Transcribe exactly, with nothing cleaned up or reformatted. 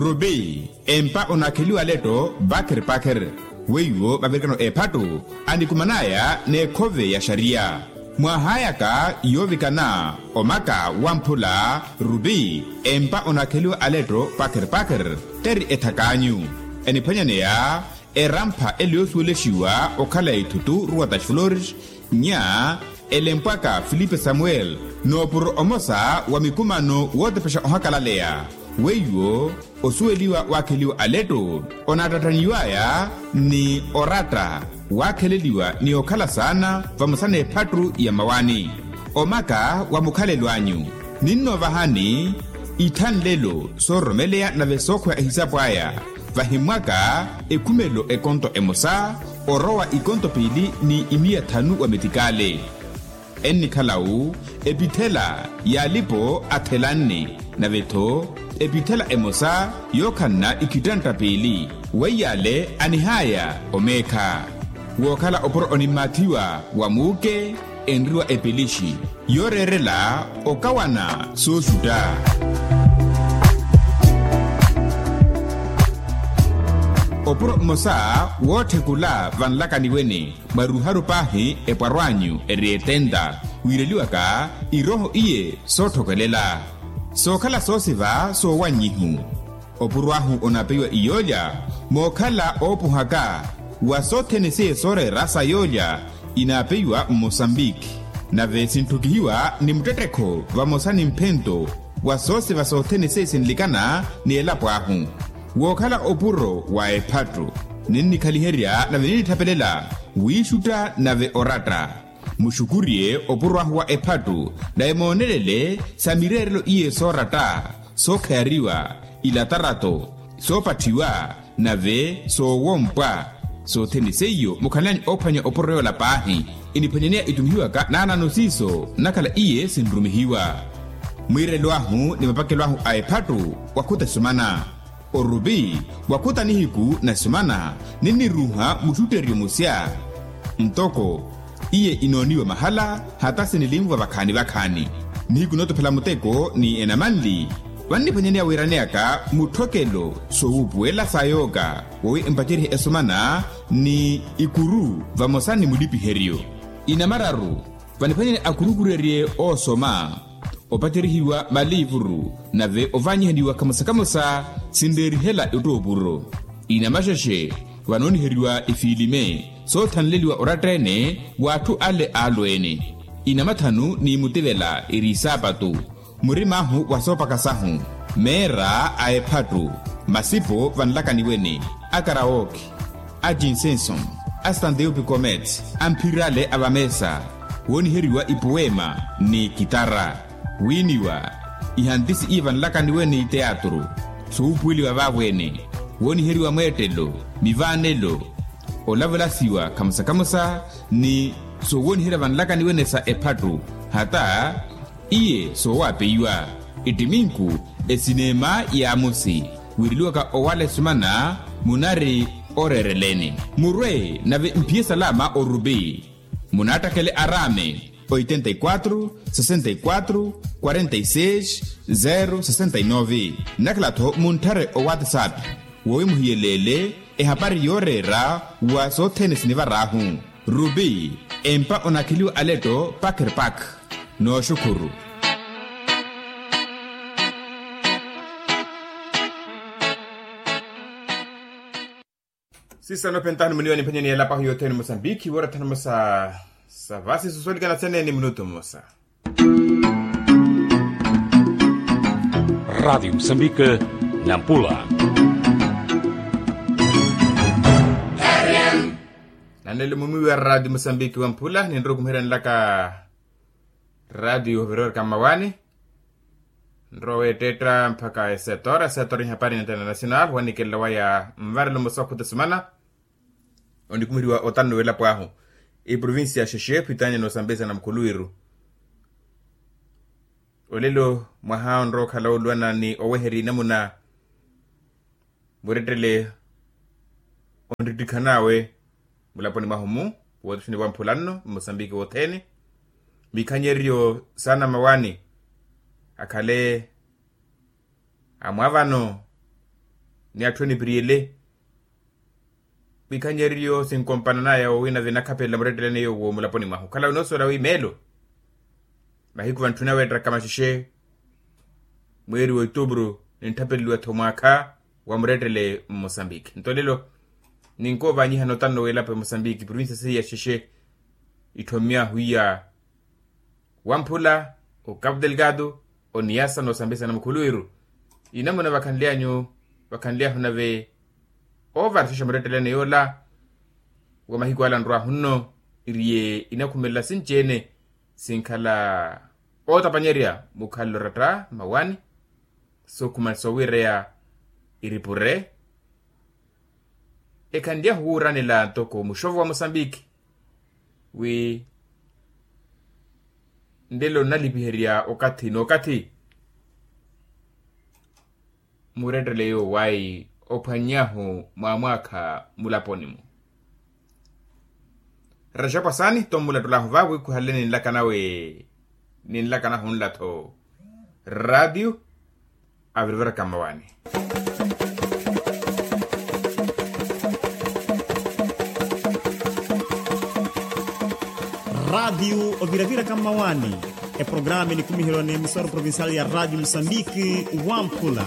Rupi empa onaakheliwa aletto pakher pakher. Weiwo mavirikano eephattu anikuman'aya n'ekhove ya xariya. Mwaahayaka yoovikana omaka wamphula rupi empa onaakheliwa aletto pakher pakher. Teri ethak'anyu eniphwanyaneya erampha ele yoosuwelexiwa okhala ya ithutu ruwa das flores. Nya elempwaka filipe samuel noopuro omosa wa mikumano wootepexa ohakalaleya. Weiwo osuweliwa waakheliwa aletto onaattattaniw'aya ni oratta waakheleliwa ni okhala saana vamosa n'ephattu ya mawani. Omaka wa mukhalelo anyu ninnoovahani ithanlelo soororomeleya nave sookhweya ehisapu aya. Vahimmwaka ekhumelo ekonto emosa orowa ikonto piili ni imiya thanu wa metikale. Ennikhala-wu epithela y'alipo athelanne nave-tho epithela emosa yookhanna ikhittantta piili. Weiy'ale anihaya omeekha wookhala opuro onimmaathiwa wa muuke enriwa epelixi yooreerela okawana sooxutta. Opuro mmosa wootthekula vanlakaniwene mwaruuharu paahi epwarw'anyu eri etenta wiireliwaka irooho iye sootthokelela sookhala soosiva soowannyihu. Opuro ahu onaapeiwa iyoolya mookhala oopuhaka wa sothene seiye sooreera sa yoolya inaapeiwa mmosambiki. Nave sintthukihiwa ni muttettekho vamosa ni mphento wa soosiva sothene seiye sinlikana ni elapo ahu. Wookhala opuro wa ephattu ninnikhaliherya nave ninnitthapelela wiixutta nave oratta. Muxukurye opuro ahu wa ephattu nave moonelele sa mireerelo iye sooratta sookhayariwa ilatarato soopatthiwa nave soowompwa. Sothene seiyo mukhanlani oophwanya opuro yoola paahi iniphwanyaneya itumihiwaka naanano siiso nnakhala iye sinrumihiwa. Mwiirelo ahu ni mapakelo ahu a ephattu wakhuta esumana orupi wakhuta nihiku na esumana ninniruuha muxutteryo musya. Ntoko iye inooniwa mahala hata sinilinvwa vakhaani vakhaani nihiku nootophela muteko ni enamanli. Vanniphwanyaneya wiiraneyaka mutthokelo soowuupuwela sa yooka wowi empacerye esumana ni ikuru vamosa ni mulipiheryo inamararu. Vaniphwanyani akurukurerye oosoma opacerihiwa maliivuru nave ovanyihaniwa kamosa-kamosa sinreerihela ettoopuro inamaxexe vanooniheriwa ifiilime soothanleliwa oratta-ene w'atthu ale aalweene inamathanu ni mutivela eri isaapatu murim'ahu wa soopaka sahu meera a ephattu masipo vanlakaniwene a karawoki a jinsenson a stanteupi comet a mphirale a vameesa wooniheriwa ipuweema ni kitara wiiniwa ihantisi iye vanlakaniwene ni teatru soowuupuweliwa vaavo-ene wooniheriwa mweettelo mivaanelo olavelasiwa kamosa-kamosa ni soowooniherya vanlakaniwene sa ephattu hata iye soowapeiwa ettiminku esineema y'amosi wiireliwaka owala esumana munari oreereleni murwe nave mphiye salama orupi munaattakele araame oitenta e quatro sesenta e quatro quarenta e seis zero sesenta e nove nnakhala-tho muntthare owatsapp wowi muhiyeleele ehapari yooreera wa sothene sinivar'ahu rupi empa onakheliwa aletto pakher pakh. Nooxukhuru sisa noopentahani muniwa nimphanyani yelapwahu yothene musambikhi woorathana musa sa vasi susolikana sene ni minutu musa. Radiyo musambikhi nampula nanele mumwiwi wa radiyo musambikhi wamphula ninrowa okhumiheryanelaka radiyo ovirorika mmawani nrowa weettetta mpakha esetora esetora ihapari nintana nasina avo wanikelela waya mvarelo mmosa okhuta esumana onikumiriwa otanu welapo ahu eprovincia xexe phitanya nosambesa na mukhuluwiru olelo mwaha onrowa okhala oluwana ni oweheri namuna murettele onrittikhan'awe mulaponi mwahu-mu wootixini wamphula nno mmosambiki wothene mikhanyeryo saana mawani akhale amwavano ni atthu enipiriyele. Wikhannyeriyo sinkompananaya wowina vinakhapelela muretteleni eyo wo mulaponi mwahu khala winoosoola wi meelo mahiku vantthuna weettakama xexe mweeri wa otubru nintthapeleliwa-tho mwaakha wa murettele mmosambiki nto lelo ninkoovanyiha notano weelapa emosambiki provincia seiya xexe itthomya hwiya wamphula okapu delgado oniyasa noosambisana mukhuluwiru inamuna vakhanly'anyu vakhanly'ahu nave oovara xexe muretteleni yoola wa mahiku ala nrw'ahu nno iriye inakhumelela sinci-ene sinkhala ootapanyerya mukhalelo oratta mmawaani sookhuma soowiireya iripure ekhanlyahu wuuranela ntoko muxovo wa mosambiki wi nlelo nnalipiherya okathi n'okathi murettele yoowayi ophwannyahu mwaamwaakha mulaponi-mu raxapu asaani tto mmulattul'ahu vaavo wiikhuhale ninlaka nawe ninlakanahu nla-tho raatiyo aviriviraka mmawaani raatiyo oviraviraka mmawaani eprogramu enikumiherwa n'emisoro provincial ya raatiyo musambiki wamphula